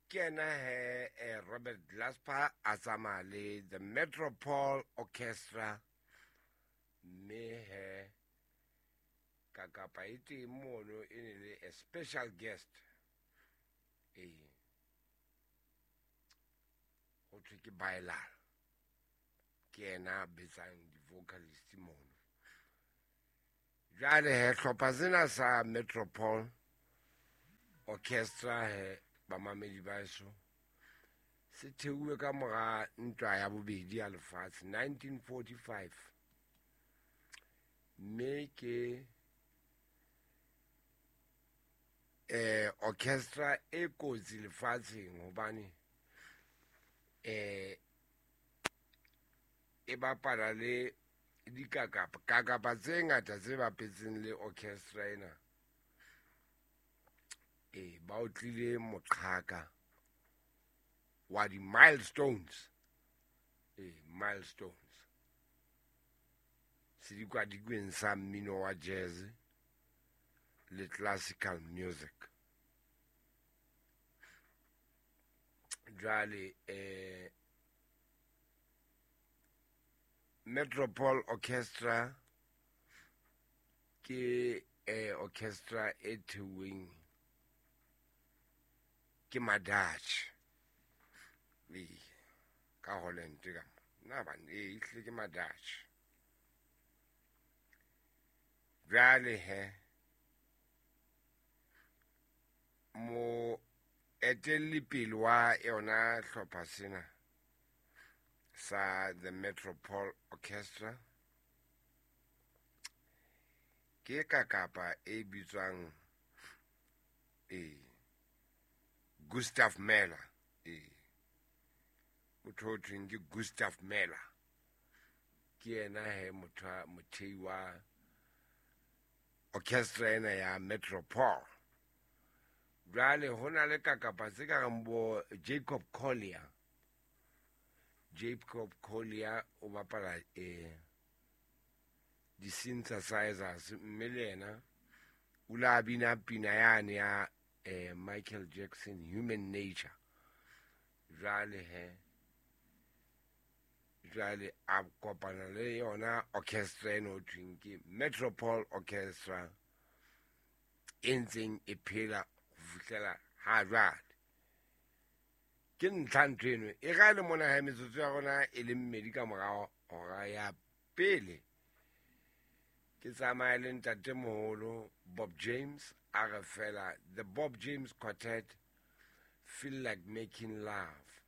Ke ena he Robert Glasper a tsamaya le the Metropole Orchestra, mme he kakapa e teng mono e ne le a special guest. Ee, ho thwe ke Bailal, ke yena a betsang di-vocalist mono. Jwale he hlopha sena sa Metropole Orchestra he, bamamedi ba eso, se theuwe ka mora ntwa ya bobedi ya lefatshe 1945, mme ke orchestra e kotsi lefatsheng hobane e bapala le dikakapa kakapa tse ngata tse bapetseng le orchestra ena. Ba o tlile moqhaka wa di-milestones, milestones sedikadikweng sa mmino wa jazz le classical music. Jwale Metropole Orchestra ke orchestra e theuweng ke Madutch ka Holland ka na ban ehlile ke Madutch. Jwale he mo etelli pele wa yona hlopha sena sa the Metropole Orchestra ke kakapa e bitswang Gustav Mahler. Motho o thweng ke Gustav Mahler ke yena he motho mothei wa orchestra ena ya Metropole. Jwale ho na le kakapa tse ka reng bo Jacob Collier. Jacob Collier o bapala di-synthesizers, mme le yena o la bina pina yane ya Michael Jackson, Human Nature. Jwale he jwale a kopana le yona orchestra eno ho thweng ke Metropole Orchestra e ntseng e phela ho fihlela ha jwale. Ke ntlha ntho eno e ga le mona ha metsotso ya rona e le mmedi ka morao hora ya pele. Ke tsamaya le ntatemoholo Bob James, a re fela the Bob James Quartet, Feel Like Making Love.